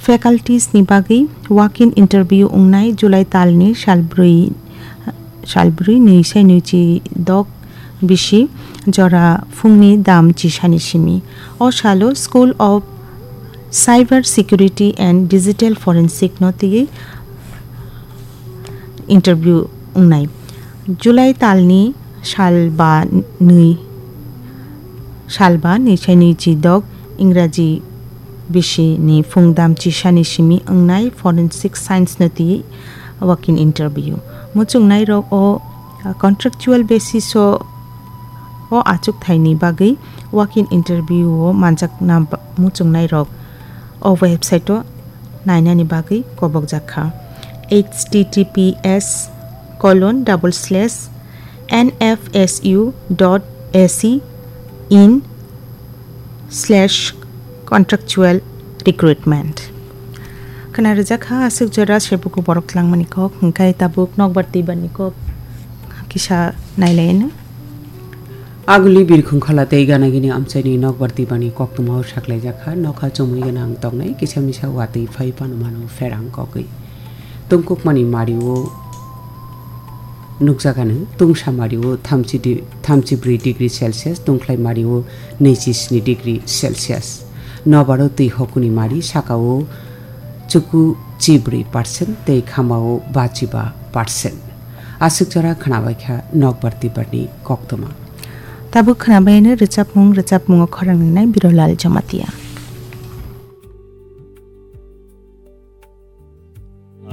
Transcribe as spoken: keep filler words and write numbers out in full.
Faculties ni bagwi walk-in interview wngnai July talni salbrwi, salbrwi nwi sai nwi chi dok bisi jora phungni dam chisani simi. O salo School of Cyber Security and Digital Forensic no twiwi interview wngnai. July talni salba nwi, salba nwi sai nwi chi dok Ingraji bisi ni phungdam chisani simi wngnai forensic science no twi walk-in interview. Muchungnai rok o, uh, contractual basis o, o achuk thaini bagwi walk-in interview o manjakna ba-, muchungnai rok o website o nainani bagwi kobokjak kha. H T T P S colon double slash N F S U dot A C in slash contractual recruitment. Khna rwjak kha aswk jora sebuku borok tlangmani kok, hwnkhe tabuk nokbar twibarni kok kisa nailaino. Aguli birkhung khala tei ganagini amchaini nokbar tibani koktwmao saklaijak kha, nokha chumui gwnang tongnai kisa misa watwi phai pano mano pherang kogwi. Tungkukmani mario nukjakano tungsa mario thamchi di-, thamchi bwrwi degree Celsius, tungkhlai mario naichi sni degree Celsius. Nobaro twi hokuni mari sakao chuku chibrwi percent tei khamao bachiba percent. Aswk jora khnabaikha nokbar tibarni koktwma. Tabuk khnabaino rwchapmung, rwchapmungo khorang rinai Birolal Jamatia.